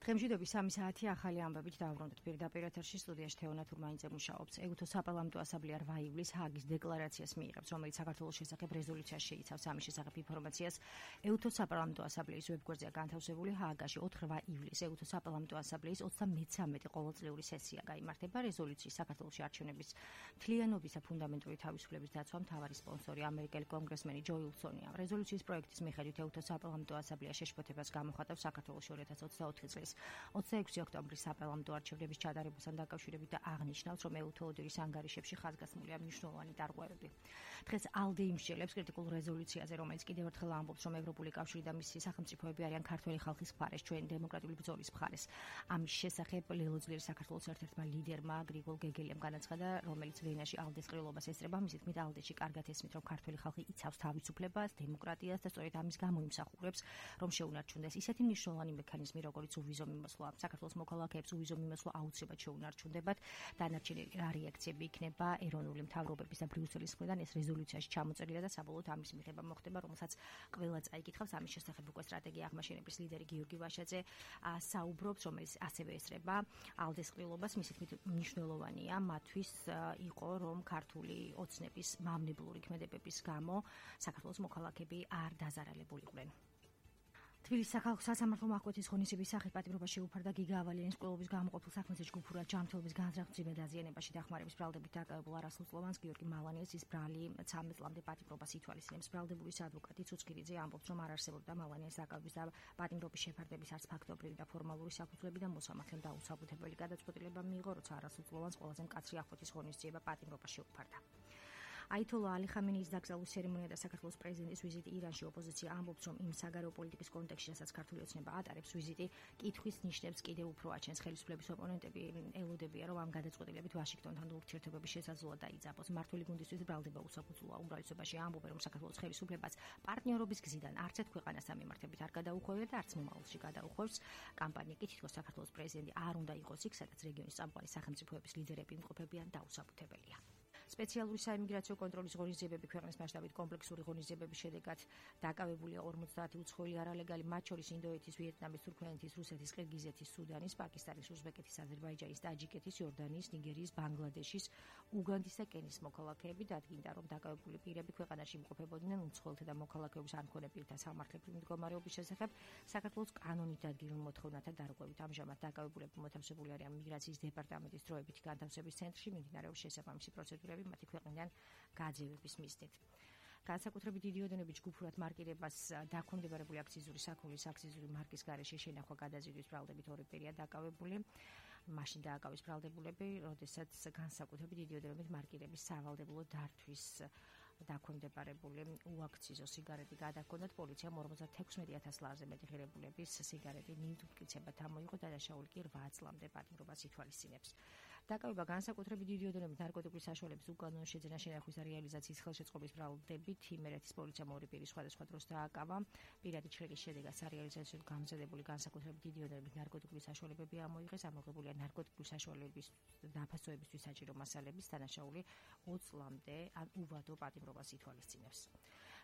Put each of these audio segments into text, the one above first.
დღემშვიდობის 3 საათი ახალი ამბებით დავბრუნდით პირდაპირ ეთერში სტუდიაში თეონა თურმანიძე მუშაობს. ეუთო საპარლამენტო ასამბლეა 8 ივლისს ჰააგის დეკლარაციას მიიღებს, რომელიც საქართველოს შესახებ რეზოლუციას შეიცავს. ამის შესახებ ინფორმაციას ეუთო საპარლამენტო ასამბლეის ვებგვერდზეა განთავსებული. ჰააგაში 4 ივლისს ეუთო საპარლამენტო ასამბლეის 33 ყოველწლიური სესია გაიმართება. რეზოლუციის საქართველოში არჩევნების მთლიანობის და ფუნდამენტური თავისუფლების დაცვა მთავარი სპონსორი ამერიკელი კონგრესმენი ჯო უილსონია. რეზოლუციის პროექტის მიხედვით ეუთო საპარლამენტო ასამბლეა შეშფოთებას გამოხატავს საქართველოში 2024 წლის 26 ოქტომბრის საპარლამენტო არჩევნების ჩატარებასთან დაკავშირებით და აღნიშნავს, რომ ეუთო ოდერის ანგარიშებში ხაზგასმულია მნიშვნელოვანი დარღვევები. დღეს ALDE იმსჯელებს კრიტიკულ რეზოლუციაზე, რომელიც კიდევ ერთხელ ამბობს, რომ ევროპული კავშირი და მისი სახელმწიფოები არიან ქართველი ხალხის მხარეს, ჩვენი დემოკრატიული ბრძოლის მხარეს. ამის შესახებ ლელოძლიერი საქართველოს ერთ-ერთმა ლიდერმა გრიგოლ გეგელიამ განაცხადა, რომელიც ვენაში ALDE-ს ყრილობას ესწრება. მის თქმით, ALDE-ში კარგად ესმით, რომ ქართველი ხალხი იცავს თავისუფლებას, დემოკრატიას და სწორედ ამის გამო იმსახურებს, რომ შეუნარჩუნდეს ისეთი მნიშვნელოვანი მექანიზმი, როგორც უვიზო მიმოსვლა. საქართველოს მოქალაქეებს უვიზო მიმოსვლა აუცილებლად შეუნარჩუნდებათ. დანარჩენი რა რეაქციები იქნება ეროვნული მთავრობების და ბრიუსელის მხრიდან, ეს რეზოლუციაში ჩამოწერილია და საბოლოოდ ამის მიღება მოხდება, რომელსაც ყველა წაიკითხავს. ამის შესახებ უკვე სტრატეგია აღმაშენების ლიდერი გიორგი ვაშაძე საუბრობს, რომელიც ასევე ესწრება ALDE-ს ყრილობას. მისი თქმით, მნიშვნელოვანია მათთვის იყო, რომ ქართული ოცნების მავნებლური ქმედებების გამო საქართველოს მოქალაქეები არ დაზარალებულიყვნენ. თბილისის სახალხო სასამართლომ აღკვეთის ღონისძიების სახით პატიმრობა შეუფარდა გიგა ავალიანის ყრილობის გამოყოფილ საქმეზე ჯგუფურად ჯანმრთელობის განზრახვის მედაზიანებაში დახმარების ბრალდებით დაკავებულ არასრულწლოვანს გიორგი მალანიას ის ბრალი 13 წლამდე პატიმრობას ითვალისწინებს. ბრალდებულის ადვოკატი ცუცქირიძე ამბობს, რომ არ არსებობდა მალანიას დაკავების და პატიმრობის შეფარდების არც ფაქტობრივი და ფორმალური საფუძვლები და მოსამართლემ დაუსაბუთებელი გადაწყვეტილება მიიღო, როცა არასრულწლოვანს ყველაზე მკაცრი აღკვეთის ღონისძიება პატიმრობა შეუფარდა. აითოლა ალი ხამენეის დაკრძალვის ცერემონია და საქართველოს პრეზიდენტის ვიზიტი ირანში. ოპოზიცია ამბობს, რომ იმ საგარეო პოლიტიკის კონტექსტში, რასაც ქართული ოცნება ატარებს, ვიზიტი კითხვის ნიშნებს კიდევ უფრო აჩენს. ხელისუფლების ოპონენტები ელოდებიან, რომ ამ გადაწყვეტილებით ვაშინგტონთან ურთიერთობების შესაძლებლობა დაიძაბოს. მმართველი გუნდისთვის ბრალდება უსაფუძვლოა. უმრავლესობაში ამბობენ, რომ საქართველოს ხელისუფლებას პარტნიორობის გზიდან არც ერთ ქვეყანას ამემართებით არ გადაუხვევია და არც მომავალში გადაუხვევს. კამპანია კი თითქოს საქართველოს პრეზიდენტი არ უნდა იყოს იქ, სადაც რეგიონის წამყვანი სახელმწიფოების ლიდერები იმყოფებიან დაუსაბუთებელია. სპეციალური საიმიგრაციო კონტროლის ღონისძიებები ქვეყნის მასშტაბით კომპლექსური ღონისძიებების შედეგად დაკავებულია 50 უცხოელი არალეგალი, მათ შორის ინდოეთის, ვიეტნამის, თურქმენეთის, რუსეთის, ყირგიზეთის, სუდანის, პაკისტანის, უზბეკეთის, აზერბაიჯანის, ტაჯიკეთის, იორდანიის, ნიგერიის, ბანგლადეშის, უგანდის და კენიის მოქალაქეები. დადგინდა, რომ დაკავებული პირები ქვეყანაში იმყოფებოდნენ უცხოელთა და მოქალაქეობის არ მქონე პირთა სამართლებრივი მდგომარეობის შესახებ საქართველოს კანონით დადგინულ მოთხოვნათა დარღვევით. ამჟამად დაკავებულები მოთავსებული არიან მიგრაციის დეპარტამენტის დროებითი განთავსების ცენტრში, მიმდინარეობს შესაბამისი პროცედურები მათი ქვეყნიდან გაძევების მიზნით. განსაკუთრებით დიდი ოდენობით ჯგუფურად მარკირებას დაქვემდებარებული აქციზური საქონლის აქციზური მარკის გარეშე შენახვა გადაზიდვის ბრალდებით ორი პირია დაკავებული. მაშინ დააკავეს ბრალდებულები, როდესაც განსაკუთრებით დიდი ოდენობით მარკირების სავალდებულო დართვის დაქვემდებარებული უაქციზო სიგარეტი გადაჰქონდათ. პოლიციამ 56,000 ლარზე მეტი ღირებულების სიგარეტი ნივთმტკიცებად ამოიღო და დაშაული კი 8 წლამდე პატიმრობას ითვალისწინებს. დაკავება განსაკუთრებით დიდი ოდენობით ნარკოტიკული საშუალების უკანონო შეძენა შენახვის და რეალიზაციის ხელშეწყობის ბრალდებით იმერეთის პოლიციამ ორი პირი სხვადასხვა დროს დააკავა. პირადი ჩრიგის შედეგად სარეალიზაციოდ გამზადებული განსაკუთრებით დიდი ოდენობით ნარკოტიკული საშუალებები ამოიღეს. ამოღებულია ნარკოტიკული საშუალებების დაფასოებისთვის საჭირო მასალების დანაშაული 20 წლამდე ან უვადო პატიმრობას ითვალისწინებს.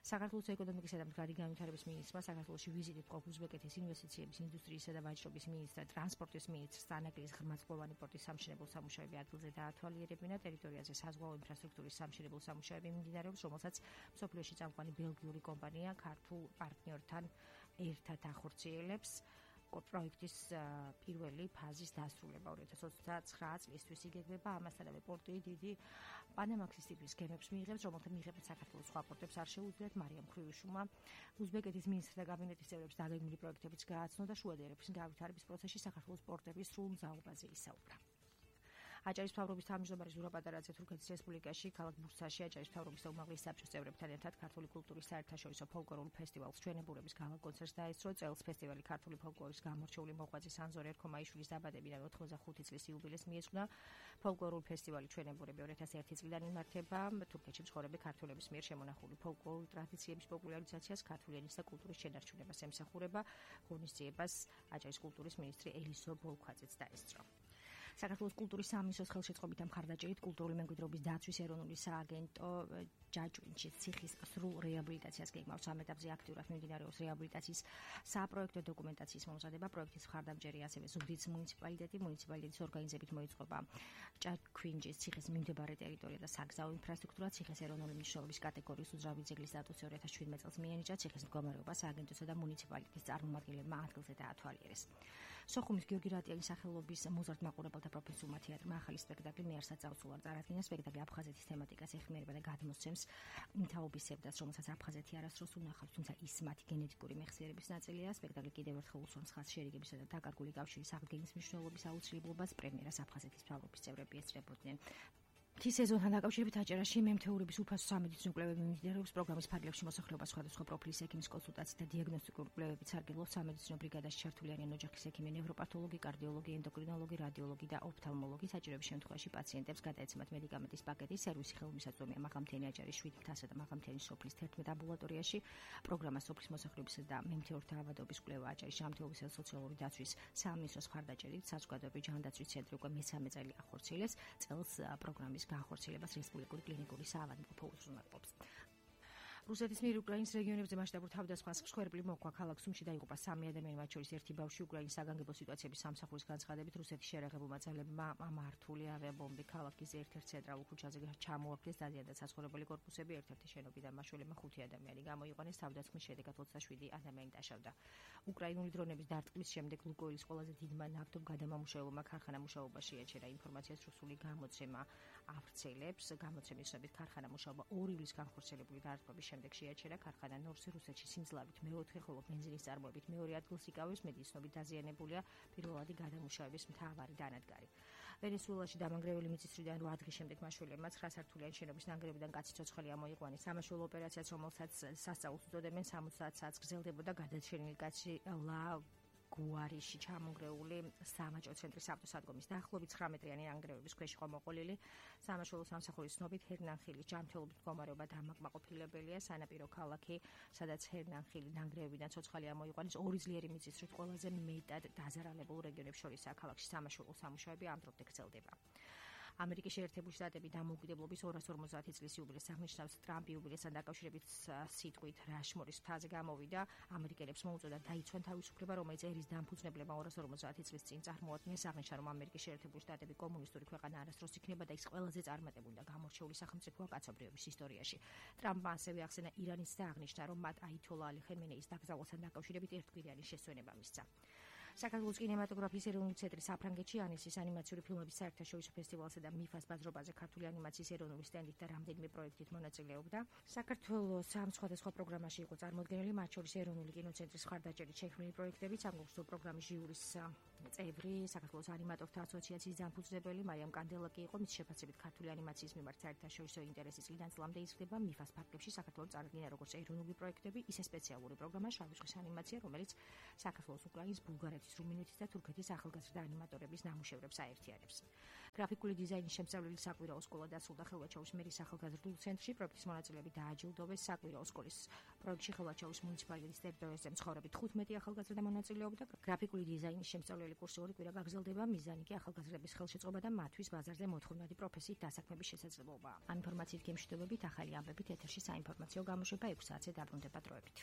საქართველოს ეკონომიკისა და მდგრადი განვითარების მინისტრმა საქართველოში ვიზიტით ყოფ უზბეკეთის ინვესტიციების, ინდუსტრიისა და ვაჭრობის მინისტრ, ტრანსპორტის მინისტრ სტანაკლის ღრმაწლოვანი პორტის სამშენებლო სამუშაოები ადგილზე დაათვალიერებინა. ტერიტორიაზე საზღვაო ინფრასტრუქტურის სამშენებლო სამუშაოები მიმდინარეობს, რომელსაც მსოფლიოში წამყვანი ბელგიური კომპანია ქართულ პარტნიორთან ერთად ახორციელებს. პროექტის პირველი ფაზის დასრულება 2029 წლისთვის იგეგმება. ამასთანავე პორტი დიდი პანამაქსის ტიპის გემებს მიიღებს, რომელთა მიღებაც საქართველოს სხვა პორტებს არ შეუძლიათ. მარიამ ხრიუშუმა უზბეკეთის მინისტრთა კაბინეტის წევრებს დაგეგმილი პროექტებიც გააცნო და შუადერების განვითარების პროცესში საქართველოს პორტების სრულ მზაობაზე ისაუბრა. აჭარის მთავრობის თავმჯდომარე ზურაბ პატარაძე თურქეთის რესპუბლიკაში ქალაქ ბურსაში აჭარის მთავრობის და უმაღლეს საბჭოს წევრებთან ერთად ქართული კულტურის საერთაშორისო ფოლკლორულ ფესტივალს ჩვენებურების გალა-კონცერტს დაესწრო. წელს ფესტივალი ქართული ფოლკლორის გამორჩეული მოღვაწე სანზორ ერქომაიშვილის დაბადებიდან 85 წლის იუბილეს მიეძღვნა. ფოლკლორული ფესტივალი ჩვენებურები 2001 წლიდან იმართება. თურქეთში მცხოვრები ქართველების მიერ შემონახული ფოლკლორული ტრადიციების პოპულარიზაციას, ქართული ენის და კულტურის შენარჩუნებას ემსახურება. ღონისძიებას აჭარის კულტურის მინისტრი ელისო ბოლქვაძეც დაესწრო. საქართველოს კულტურის სამინისტროს ხელშეწყობით და მხარდაჭერით კულტურული მემკვიდრეობის დაცვის ეროვნული სააგენტო ჯაჭვინჩის ციხის სრულ რეაბილიტაციას გეგმავს. ამ ეტაპზე აქტიურად მიმდინარეობს რეაბილიტაციის საპროექტო დოკუმენტაციის მომზადება. პროექტის მხარდამჭერი ასევე ზუგდიდის მუნიციპალიტეტის ორგანიზებით მოიწყობა ჯაჭვინჩის ციხის მიმდებარე ტერიტორია და საგზაო ინფრასტრუქტურა. ციხის ეროვნული მნიშვნელობის კატეგორიის უძრავი ძეგლის სტატუსი 2017 წელს მიენიჭა. ციხის მდგომარეობა სააგენტოსა და მუნიციპალიტეტის წარმომადგენლებმა ადგილზე დაათვალიერეს. სოხუმის გიორგი რატიანის სახელობის მოზარდ მაყურებელთა პროფესიულმა თეატრმა ახალი სპექტაკლი მეარსად წავსულა. წარადგინა სპექტაკლი აფხაზეთის თემატიკას ეხმიერება და გადმოსცემს თაობის სევდას, რომელსაც აფხაზეთი არასდროს უნახავს, თუმცა ის მათი გენეტიკური მეხსიერების ნაწილია. სპექტაკლი კიდევ ერთხელ უსვამს ხაზს შერიგებისა და დაკარგული კავშირის აღდგენის მნიშვნელობის აუცილებლობას. პრემიერას აფხაზეთის მთავრობის წევრები ესწრებოდნენ. მთის სეზონთან დაკავშირებით აჭარაში მემთეურების უფასო სამედიცინო კვლევები მიმდინარეობს. პროგრამის ფარგლებში მოსახლეობას სხვადასხვა პროფილის ექიმის კონსულტაციით და დიაგნოსტიკური კვლევებით სარგებლობს. სამედიცინო ბრიგადაში ჩართული არიან ოჯახის ექიმი, ნევროპათოლოგი, კარდიოლოგი, ენდოკრინოლოგი, რადიოლოგი და ოფთალმოლოგი. საჭიროების შემთხვევაში პაციენტებს გადაეცემათ მედიკამენტის პაკეტი. სერვისი ხელმისაწვდომია მაღალმთიანი აჭარის 7 მთასა და მაღალმთიანი სოფლის 11 ამბულატორიაში. პროგრამა სოფლის მოსახლეობისა და მემთეურთა ავადობის კვლევა აჭარის ჯანმრთელობისა და სოციალური დაცვის სამინისტროს მხარდაჭერით საზოგადოებრივი ჯანდაცვის ცენტრი უკვე მესამე წელი ახორციელეს. წელს პროგრამის განხორციელებას რესპუბლიკური კლინიკური საავადმყოფო უზრუნველყოფს. რუსეთის მიერ უკრაინის რეგიონებზე მასშტაბურ თავდასხმას მსხვერპლი მოჰყვა. ქალაქ სუმში დაიღუპა 3 ადამიანი, მათ შორის ერთი ბავშვი. უკრაინის საგანგებო სიტუაციების სამსახურის განცხადებით, რუსეთის შეერაღებულმა ძალებმა მართული ავიაბომბი ქალაქის ერთ-ერთ ცენტრალურ ქუჩაზე ჩამოაგდეს. დაზიანდა საცხოვრებელი კორპუსები, ერთ-ერთი შენობიდან მაშველებმა 5 ადამიანი გამოიყვანეს. თავდასხმის შედეგად 27 ადამიანი დაშავდა. უკრაინული დრონების დარტყმის შემდეგ ლუკოილის ყველაზე დიდმა ნავთობგადამამუშავებელმა ქარხანა მუშაობა შეაჩერა. ინფორმაციას რუსული გამოცემა ავრცელებს. გამოცემის შედეგად ქარხანა მუშაობა 2 ივლის განხორციელებული დარტყმების შემდეგ შეაჩერა. ქარხანა ნორსი რუსეთში სიმძლავრით მეოთხე, ხოლო ბენზინის წარმოებით მეორე ადგილს იკავებს. მედიცინობით დაზიანებულია პირველადი გადამუშავების მთავარი დანადგარი. ვენესუელაში დამანგრეველი მიწის მხრიდან 8 დღის შემდეგ მაშველებმა 9 სართულიანი შენობის ნანგრევიდან კაცი ცოცხალი ამოიყვანეს. სამაშველო ოპერაციაც, რომელსაც სასწაულს უწოდებენ, 60 საათს გრძელდებოდა. გადარჩენილი კაცი გუარიში ჩამონგრეული სამაჭო ცენტრის ავტოსადგომის დაახლოებით 19-მეტრიანი ნანგრევების ქვეშ იყო მოყოლილი. სამაშველო სამსახურის ცნობით ჰერნანხილის ჯანმრთელობის მდგომარეობა დამაკმაყოფილებელია. სანაპირო ქალაქი, სადაც ჰერნანხილი ნანგრევებიდან ცოცხალი ამოიყვანეს, 2 ძლიერი მიწისძვრით ყველაზე მეტად დაზარალებულ რეგიონებს შორისაა. ქალაქში სამაშველო სამუშაოები ამ დრომდე გრძელდება. ამერიკის შეერთებული შტატები დამოუკიდებლობის 250 წლის იუბილეს აღნიშნავს. ტრამპი იუბილესთან დაკავშირებით სიტყვით რაშმორის მთაზე გამოვიდა. ამერიკელებს მოუწოდა დაიცვან თავისუფლება, რომელიც ერის დამფუძნებლებმა 250 წლის წინ წარმოადგენს. აღნიშნა, რომ ამერიკის შეერთებული შტატები კომუნისტური ქვეყანა არასდროს იქნება და ის ყველაზე წარმატებული და გამორჩეული სახელმწიფოა კაცობრიობის ისტორიაში. ტრამპმა ასევე ახსენა ირანის და აღნიშნა, რომ მათ აითოლა ალი ხემენეის დაკრძალვასთან დაკავშირებით ერთკვირიანი შესვენება მისცა. საქართველოს კინემატოგრაფიის ეროვნული ცენტრი საფრანგეთში ანესის ანიმაციური ფილმების საერთაშორისო ფესტივალსა და მიფას ბაზრობაზე ქართული ანიმაციის ეროვნული სტენდით და რამდენიმე პროექტით მონაწილეობდა. საქართველოს ამ სხვადასხვა პროგრამაში იყო წარმოდგენილი, მათ შორის ეროვნული კინოცენტრის მხარდაჭერით შექმნილი პროექტები, სამგზო პროგრამის ჟიურის წევრი, საქართველოს ანიმატორთა ასოციაციის დამფუძნებელი მარიამ კანდელაკი იყო. მის შეფასებით ქართული ანიმაციის მიმართ საერთაშორისო ინტერესი წლიდან წლამდე იზრდება. მიფას ფარგლებში საქართველოს წარდგინა როგორც ეროვნული პროექტები, ისე სპეციალური პროგრამა შავი ზღვის ანიმაცია, რომელიც საქართველოს, უკრაინის, ბულგარეთის, რუმინეთის და თურქეთის ახალგაზრდა ანიმატორების ნამუშევრებს აერთიანებს. გრაფიკული დიზაინის შემსწავლელი საკვირაო სკოლა დასრულდა ხელვაჩაურის მერის ახალგაზრდულ ცენტრში. პროექტის მონაწილეები დააჯილდოვეს. საკვირაო სკოლის პროექტში ხელვაჩაურის მუნიციპალიტეტის ტერიტორიაზე მცხოვრები 15 ახალგაზრდა მონაწილეობდა. გრაფიკული დიზაინის შემსწავლელი კურსი 2 კვირა გაგრძელდება. მიზანი კი ახალგაზრდების ხელშეწყობა და მათთვის ბაზარზე მოთხოვნადი პროფესიით დასაქმების შესაძლებლობაა. ამ ინფორმაციით გემშვიდობებით, ახალი ამბებით ეთერში საინფორმაციო გამოშვება 6 საათზე დაბრუნდება დროებით.